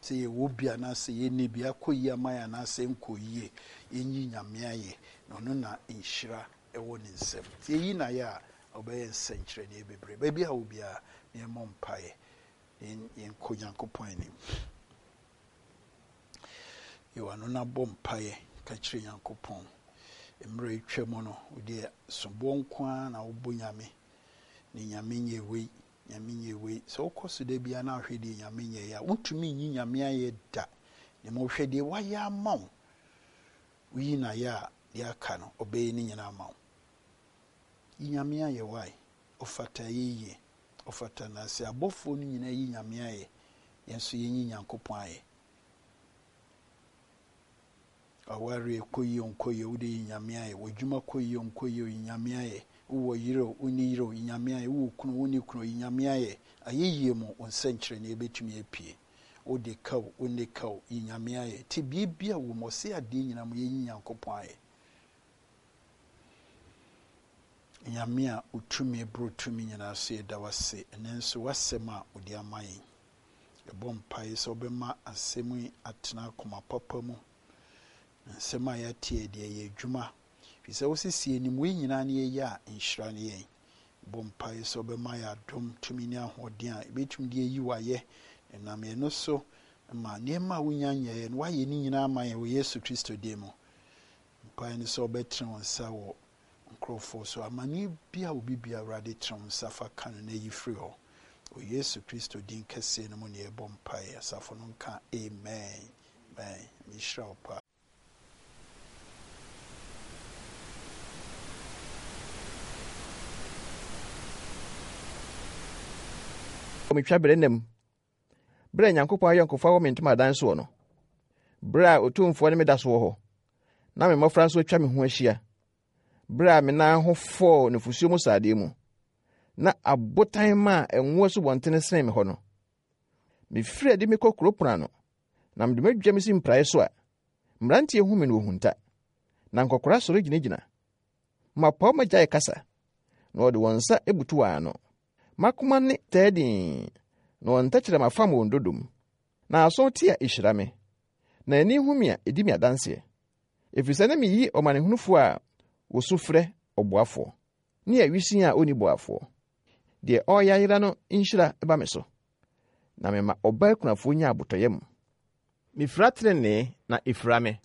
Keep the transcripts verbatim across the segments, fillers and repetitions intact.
Sɛ yɛwɔ bi anaasɛ yɛnni bi, akɔ yie ama yɛn anaasɛ nkɔ yie, yɛnyi Nyame ayɛ, na ɔno na nhyira ɛwɔ ne nsam. Nti yɛyi no ayɛ a, ɔbɛyɛ nsɛnkyerɛnneɛ bebree. Baabi a wɔ biara, yɛmmɔ mpaeɛ, yɛnkɔ Nyankopɔn anim. Yɛwɔ ano na bɔ mpaeɛ ka kyerɛ Nyankopɔn. Mmerɛ atwa mu no, wodeɛ soboɔ nko ara na wobɔ Nyame. Ne Nyame nyɛ wei, Nyame nyɛ wei. Sɛ wokɔ so da biara na wohwɛ deɛ Nyame nyɛ a, wontumi nyi Nyame ayɛ da. Na mmom hwɛ deɛ wayɛ ama wo. Woyi no ayɛ a, deɛ aka no, ɔbɛyɛ ne nyinaa ama wo. Yi Nyame ayɛ wae. Ɔfata yɛyie. Ɔfata na sɛ abɔfoɔ no nyinaa yi Nyame ayɛ, yɛn nso yɛnyi Nyankopɔn ayɛ. Awareɛ kɔ yie nkɔ yie, wode yi Nyame ayɛ. W'adwuma kɔ yie nkɔ yie, yi Nyame ayɛ. Wowɔ yere o, wonni yere o, yi Nyame ayɛ. Wowɔ kunu, wonni kunu, yi Nyame ayɛ. Ayɛyie mu, wo nsɛnkyerɛnneɛ bɛtumi apue. Wode ka o, wonni ka o, yi Nyame ayɛ. Nti biribi a wɔ mu, ɔse adeɛ nyinaa mu, yɛnyi Nyankopɔn ayɛ. Nyame a otumi boro tumi nyinaa so, yɛda wo ase. Ɛnnɛ nso w'asɛm a wode ama yɛn. Yɛbɔ mpaeɛ sɛ wobɛma asɛm yi atena akoma papa mu. Na nsɛm a yɛate deɛ ɛyɛ adwuma. Firi sɛ wosisi anim wei nyinaa ne yɛyɛ a, nhyira ne yɛn. Bɔ mpaeɛ sɛ wobɛma yɛ adom, tumi ne ahoɔden a yɛbɛtumi de ayi w'ayɛ. Ɛnam yɛn no so ma nneɛma a wonya nyɛeɛ no, woayɛ ne nyinaa ama yɛn wɔ Yesu Kristo din mu. Mpaeɛ ne sɛ wobɛtene wo nsa wɔ nkurɔfoɔ so. Amanneɛ bi a obi bia, Awurade, tene wo nsa fa ka no na yi firi hɔ. Wɔ Yesu Kristo din kɛseɛ no mu ne yɛbɔ mpaeɛ. Asafo no nka amen. Amen. Mehyira wo paa. Metwa berɛ nam berɛ a Nyankopɔn ayɔnkofa wɔ me ntomadan soɔ no, berɛ a Otumfoɔ ne me da so wɔ hɔ, na me mmɔfra nso atwa me ho ahyia, berɛ a me nan ho fɔɔ nufosuo mu sradeɛ mu, na abotan ma a ɛnwo asubɔntene sene me hɔ no, mefiri adi mekɔ kuro pono ano, na mede m'adwa me si mpraeɛ so a, mmeranteɛ hu me no wɔhunta, na nkɔkora sɔre gyinagyina. Mmapɔmma gyae kasa, na wɔde wɔn nsa butu wɔn ano. M'akoma ne taa dinn, na wɔn tɛkyerɛma fam wɔn dodom. Na aso te a ehyira me, na ani hu me a edi me adanseɛ. Ɛfiri sɛ na meyi ɔmanehunufoɔ a wosu frɛ ɔboafoɔ, ne awisiaa a onni boafoɔ. Deɛ ɔreyɛ ayera no nhyira ba me so, na mema ɔbaa kunafoɔ nya abotɔyam. Mifira trenee na efira me.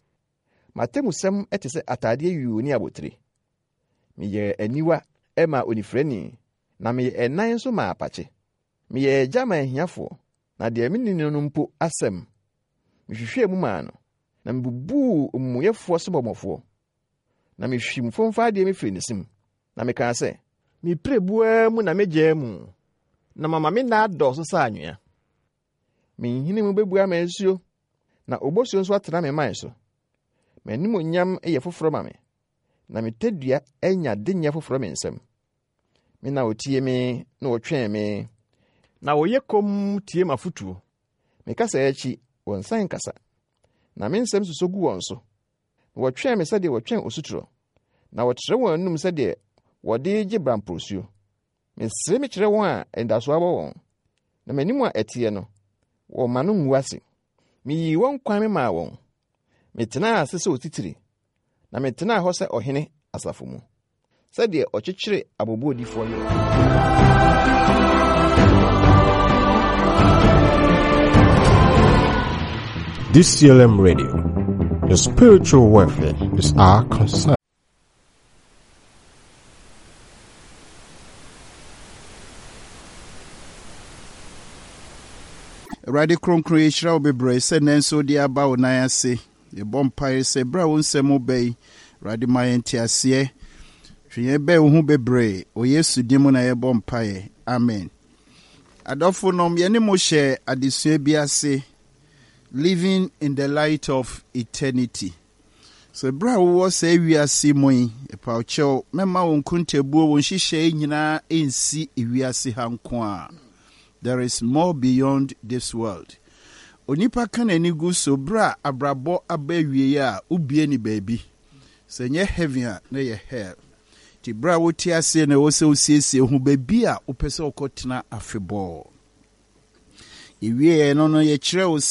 M'atemmusɛm te sɛ atadeɛ yuu ne abotire. Meyɛɛ aniwa maa onifirani, na meyɛ ɛnan nso maa apakye. Meyɛɛ agya maa ahiafoɔ, na deɛ menni no no mpo asɛm, mehwehwɛɛ mu maa no, na mebubuu omumuyɛfoɔ sebɔmmɔfoɔ. Na mehwim fomfa adeɛ mefiri ne sim, na mekaa sɛ, me pirebuo mu na megyaa mu, na mama me nna adɔɔso sɛ anwea. Me nhini mu bɛbua ama nsuo, na obosuo nso atena me man so. M'animonyam yɛ foforɔ ma me, na me tadua anya denyɛ foforɔ me nsam. Me na otie me na wɔtwɛn me, na wɔyɛ komm tie m'afotuo. Me kasa akyi, wɔnsan nkasa, na me nsɛm sosɔ gu wɔn so. Na wɔtwɛn me sɛdeɛ wɔtwɛn osutorɔ, na wɔtrɛ wɔn anum sɛdeɛ wɔde gye bramprosuo. Mesere me kyerɛ wɔn a anidasoɔ abɔ wɔn, na m'anim a ɛteɛ no, wɔma no ngu ase. Miyii wɔn kwan memaa wɔn. Metenaa ase sɛ otitiri, na metenaa hɔ sɛ ɔhene asafo mu, sɛdeɛ ɔkyekyere aboboodifoɔ werɛ. D C L M Radio, your spiritual welfare is our concern. Awurade kronkron, yɛhyira wo bebree sɛ nnɛ nso wode aba wo nan ase. Yɛbɔ mpaeɛ sɛ berɛ a wo nsɛm ba yi, Awurade, ma yɛn nteaseɛ. Hwɛ yɛn bɛn wo ho bebree. Wɔ Yesu din mu na yɛbɔ mpaeɛ, amen. Adɔfo nom, yɛne mo hyɛ adesua bi ase, Living in the Light of Eternity. So berɛ a wowɔ saa wiase mu yi, ɛpawkyɛw, mɛma wo nkontabuo, wo nhyehyɛe nyinaa nsi wiase ha nko a. There is more beyond this world. Onipa ka n'ani gu so berɛ a abrabɔ aba awie a, wobie ne baabi sɛ nyɛ heaven a, na yɛ hell. Nti berɛ a wote aseɛ na ɛwɔ sɛ wosiesie ho baabi a wopɛ sɛ wokɔtena afebɔɔ. Yɛwieɛ no no yɛkyerɛ wo sɛ